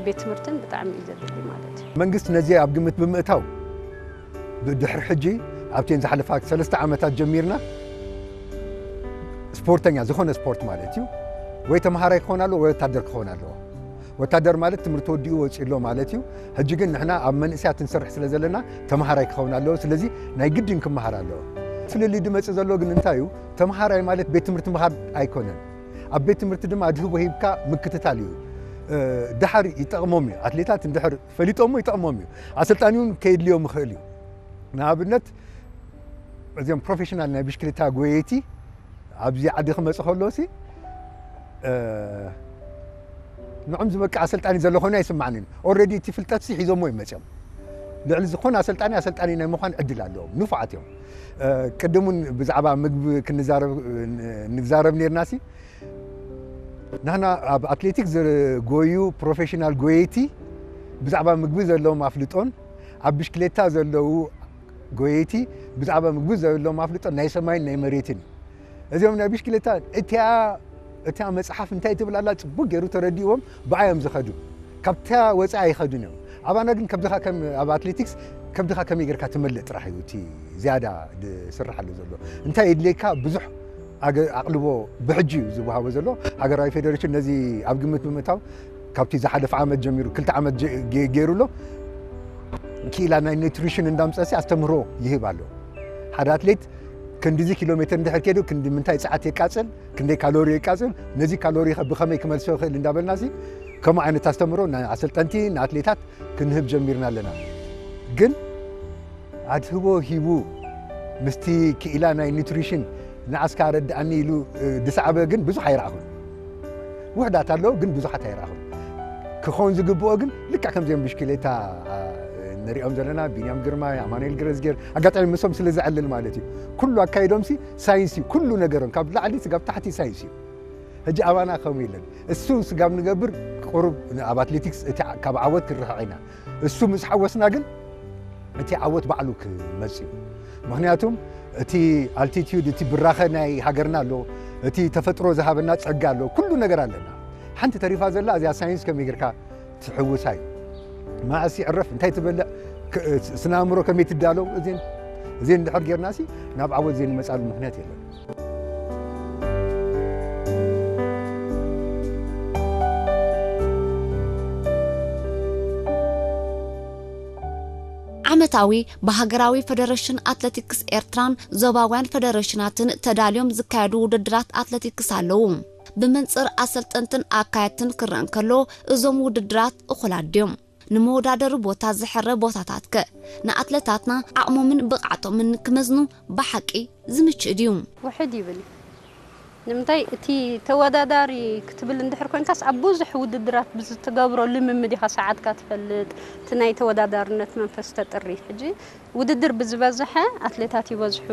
ቤት ትምህርትን ብጣዕሚ እዩ ዘድሊ ማለት እዩ። መንግስት ነዚ ኣብ ግምት ብምእታው ብድሕሪ ሕጂ ኣብተን ዝሓለፋ ሰለስተ ዓመታት ጀሚርና ስፖርተኛ ዝኾነ ስፖርት ማለት እዩ ወይ ተምሃራይ ክኸውን ኣለዎ ወይ ወታደር ክኸውን ኣለዎ። ወታደር ማለት ትምህርቲ ወዲኡ ወፂኡ ኣሎ ማለት እዩ። ሕጂ ግን ንሕና ኣብ መንእሰያት ንሰርሕ ስለ ዘለና ተምሃራይ ክኸውን ኣለዎ። ስለዚ ናይ ግድን ክመሃር ኣለዎ። ፍልልይ ድመፅእ ዘሎ ግን እንታይ እዩ? ተምሃራይ ማለት ቤት ትምህርቲ ምኻድ ኣይኮነን። ኣብ ቤት ትምህርቲ ድማ ኣድህቦ ሂብካ ምክትታል እዩ። ድሓር ይጠቕሞም እዩ። ኣትሌታት እንድሕር ፈሊጦሞ ይጠቕሞም እዩ። ኣሰልጣኒ እውን ከየድልዮም ይኽእል እዩ። ንኣብነት እዚኦም ፕሮፌሽናል ናይ ብሽክሌታ ጎየይቲ ኣብዚ ዓዲ ክመጽእ ከሎ ሲ ንዕም ዝበቅዕ ኣሰልጣኒ ዘሎ ኮይኑ ኣይስማዕንን። ኦልሬዲ እቲ ፍልጠት ሲ ሒዞሞ እዩ መጽኦም። ልዕሊ ዝኾነ ኣሰልጣኒ ኣሰልጣኒ ናይ ምዃን ዕድል ኣለዎም። ንፉዓት እዮም። ቅድም እውን ብዛዕባ ምግቢ ክንዛረብ ንዛረብ ነርና ሲ ንሕና ኣብ ኣትሌቲክስ ዝጎዩ ፕሮፌሽናል ጎየይቲ ብዛዕባ ምግቢ ዘለዎም ኣፍልጦን ኣብ ብሽክሌታ ዘለዉ ጎየይቲ ብዛዕባ ምግቢ ዘለዎም ኣፍልጦ ናይ ሰማይን ናይ መሬትን እዩ። እዚኦም ናይ ብሽክሌታ እቲኣ እታ መፅሓፍ እንታይ ትብል ኣላ ፅቡቅ ገይሩ ተረዲእዎም ብኣዮም ዝኸዱ ካብታ ወፃኢ ኣይኸዱን እዮም። ኣባና ግን ከብድኻ ከም ኣብ ኣትሌቲክስ ከብድኻ ከመይ ጌርካ ትመልእ ጥራሕ እዩ እቲ ዝያዳ ዝስርሓሉ ዘሎ። እንታይ የድልየካ ብዙሕ ኣገ- ኣቕልቦ ብሕጂ እዩ ዝወሃቦ ዘሎ። ሃገራዊ ፌዴሬሽን ነዚ ኣብ ግምት ብምእታው ካብቲ ዝሓለፈ ዓመት ጀሚሩ ክልተ ዓመት ጀ- ገ- ገይሩ ኣሎ። ክኢላ ናይ ኒትሪሽን እንዳምፀሲ ኣስተምህሮ ይህብ ኣሎ። ሓደ ኣትሌት ክንዲዚ ኪሎ ሜትር እንድሕር ከይዱ ክንዲ ምንታይ ፀዓት የቃፅል፣ ክንደይ ካሎሪ የቃፅል፣ ነዚ ካሎሪ ከ ብኸመይ ክመልሶ ይኽእል እንዳበልና ሲ ከምኡ ዓይነት ኣስተምህሮ ንኣሰልጠንቲ ንኣትሌታት ክንህብ ጀሚርና ኣለና። ግን ኣድህቦ ሂቡ ምስቲ ክኢላ ናይ ኒትሪሽን ንዓስካ ረድኣኒ ኢሉ ድሰዓበ ግን ብዙሕ ኣይረኣኹን። ውሕዳት ኣለዉ ግን ብዙሓት ኣይረኣኹን። ክኸውን ዝግብኦ ግን ልክዕ ከምዚኦም ብሽክሌታ ንሪኦም ዘለና ቢንያም ግርማይ፣ ኣማኑኤል ገረዝጌር ኣጋጣሚ ምሶም ስለ ዝዕልል ማለት እዩ። ኩሉ ኣካይዶምሲ ሳይንስ እዩ። ኩሉ ነገሮም ካብ ላዕሊ ስጋብ ታሕቲ ሳይንስ እዩ። ሕጂ ኣባና ከምኡ የለን። እሱ ስጋብ ንገብር ቁሩብ ኣብ ኣትሌቲክስ እቲ ካብ ዓወት ክንርሕቕ ኢና። እሱ ምስ ሓወስና ግን እቲ ዓወት ባዕሉ ክመጽእ እዩ። ምክንያቱም እቲ ኣልቲቲዩድ እቲ ብራኸ ናይ ሃገርና ኣሎ፣ እቲ ተፈጥሮ ዝሃበና ጸጋ ኣሎ፣ ኩሉ ነገር ኣለና። ሓንቲ ተሪፋ ዘላ እዚኣ ሳይንስ ከመይ ጌርካ ትሕውሳ እዩ። መዓስ ይዕረፍ እንታይ ትበልዕ ስነ ኣእምሮ ከመይ ትዳለው እዚን እዚን እንድሕር ጌርናሲ ናብ ዓወት ዘይንመጻሉ ምክንያት የለን። ዓመታዊ ብሃገራዊ ፈደረሽን ኣትለቲክስ ኤርትራን ዞባውያን ፈደረሽናትን ተዳልዮም ዝካየዱ ውድድራት ኣትለቲክስ ኣለዉ። ብመንጽር ኣሰልጠንትን ኣካየድትን ክረአ እንከሎ እዞም ውድድራት እኹላት ድዮም? ንመወዳደሪ ቦታ ዝሕረ ቦታታት ከ ንኣትለታትና ዓቕሞምን ብቕዓቶምን ክመዝኑ ብሓቂ ዝምችእ ድዩ? ውሕድ ይብል። ንምንታይ እቲ ተወዳዳሪ ክትብል እንድሕር ኮንካስ ኣብ ብዙሕ ውድድራት ብዝትገብሮ ልምምድ ኢኻ ሰዓትካ ትፈልጥ፣ እቲ ናይ ተወዳዳርነት መንፈስ ተጥሪ። ሕጂ ውድድር ብዝበዝሐ ኣትሌታት ይበዝሑ፣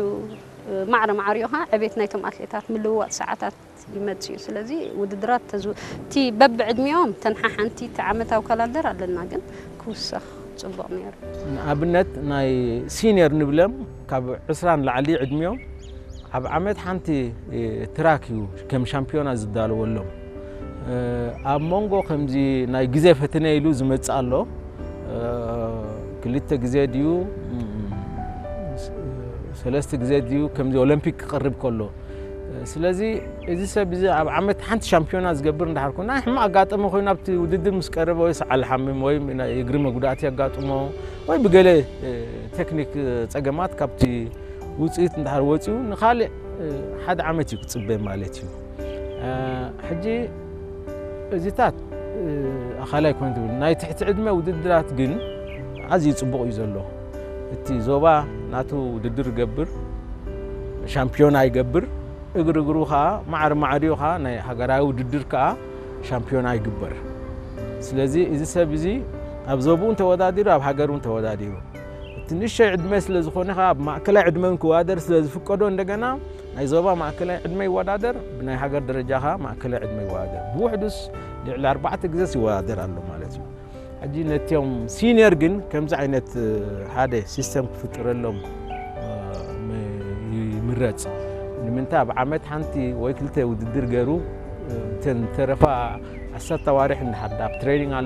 ማዕረ ማዕሪኡ ኸዓ ዕቤት ናይቶም ኣትሌታት ምልውዋጥ ሰዓታት ይመጽእ እዩ። ስለዚ ውድድራት ተዝ እቲ በብዕድሚኦም ተንሓሓንቲ እቲ ዓመታዊ ካላንደር ኣለና ግን ክውሰኽ ጽቡቕ ነይሩ። ንኣብነት ናይ ሲኒየር ንብለም ካብ ዕስራ ንላዕሊ ዕድሚኦም ኣብ ዓመት ሓንቲ ትራክ እዩ ከም ሻምፒዮና ዝዳለወሎም። ኣብ መንጎ ከምዚ ናይ ግዜ ፈተነ ኢሉ ዝመጽእ ኣሎ። ክልተ ግዜ ድዩ ሰለስተ ግዜ ድዩ ከምዚ ኦሎምፒክ ክቐርብ ከሎ። ስለዚ እዚ ሰብ እዚ ኣብ ዓመት ሓንቲ ሻምፒዮና ዝገብር እንዳሓር ኮና ሕማቕ ኣጋጠመ ኮይኑ ኣብቲ ውድድር ምስ ቀረበ ወይ ሰዓል ሓምም ወይ ናይ እግሪ መጉዳእቲ ኣጋጥሞ ወይ ብገለ ቴክኒክ ጸገማት ካብቲ ውፅኢት እንድሕር ወፂኡ ንካልእ ሓደ ዓመት እዩ ክፅበ ማለት እዩ። ሕጂ እዚታት ኣኻላይ ኮይኑ ትብል ናይ ትሕቲ ዕድመ ውድድራት ግን ኣዝዩ ፅቡቕ እዩ ዘሎ። እቲ ዞባ ናቱ ውድድር ይገብር፣ ሻምፒዮና ይገብር፣ እግሪ እግሩ ከዓ ማዕር ማዕሪኡ ከዓ ናይ ሃገራዊ ውድድር ከዓ ሻምፒዮና ይግበር። ስለዚ እዚ ሰብ እዚ ኣብ ዞብኡን ተወዳዲሩ ኣብ ሃገሩን ተወዳዲሩ እቲ ንእሽተይ ዕድመ ስለ ዝኾነ ከዓ ኣብ ማእከላይ ዕድመን ክወዳደር ስለ ዝፍቀዶ እንደገና ናይ ዞባ ማእከላይ ዕድመ ይወዳደር ብናይ ሃገር ደረጃ ከዓ ማእከላይ ዕድመ ይወዳደር ብውሕዱስ ልዕሊ ኣርባዕተ ግዜስ ይወዳደር ኣሎ ማለት እዩ። ሕጂ ነቲኦም ሲኒየር ግን ከምዚ ዓይነት ሓደ ሲስተም ክፍጥረሎም ይምረፅ። ንምንታይ ኣብ ዓመት ሓንቲ ወይ ክልተ ውድድር ገይሩ እተን ተረፋ ዓሰርተ ኣዋርሕ እንዳሓዳ ኣብ ትሬኒንግ